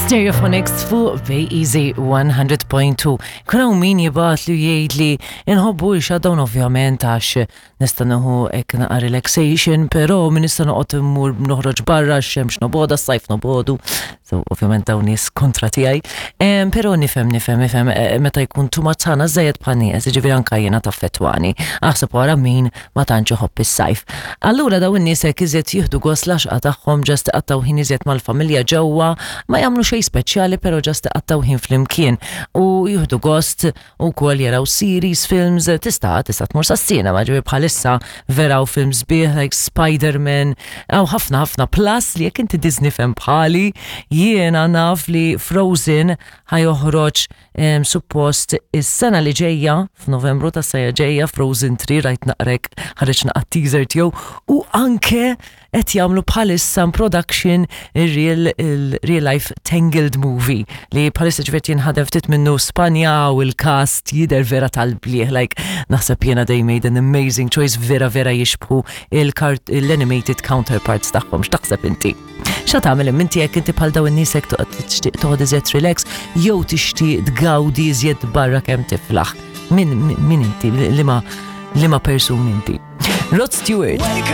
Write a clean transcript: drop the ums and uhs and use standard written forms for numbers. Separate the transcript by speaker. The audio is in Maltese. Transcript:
Speaker 1: Stereophonics fuq Bay Easy 100.2. Kun hawn min jibgħat li jgħid li inħobbu x-shutdown ovvjament għax nista' nieħu hekk naqa' relaxation, però min nista' noqgħod immur noħroġ barra x-xemx noboda, s-sajf nobodu. So ovvjament dawn nies kontra tiegħi. Però nifhem nifhem nifhem eh, meta jkun too much sħana żejjed bħal nieqes, jiġifieri anke jiena taffettwani. Aħseb wara min ma tantx iħobb is-sajf. Allura dawn in-nies hekk iżjed jieħdu gost l-għaxqa tagħhom ġast iqattgħu ħin iżjed mal-familja ġewwa, ma jagħmlu xejn speċjali però ġast iqattgħu ħin flimkien u jieħdu gost ukoll jaraw series, films, tista' tista' tmur sas-cinema, ġifieri bħalissa vera hawn films sbieħ like Spider-Man, hawn ħafna ħafna plus li jekk inti Disney fan bħali, jiena naf li Frozen ħa joħroġ Suppost is-sena li ġejja, f'Novembru tas-sena ġejja, Frozen 3 rajt naqrek ħareġ naqra teaser tiegħu u anke qed jagħmlu bħalissa production ir-real real life Tangled movie li bħalissa ġifieri jinħadem ftit minnu Spanja u l-cast jidher vera tal-blieh like naħseb jiena they made an amazing choice vera vera jixbħu l-animated counterparts tagħhom. X'taħseb inti? Xa tagħmel imma inti jekk inti bħal dawn in-nies hekk toqgħod tixtieq toħod iżjed relax jew tixtieq tgawdi iżjed barra kemm tiflaħ. Min min inti liema liema persuni inti? Rod Stewart.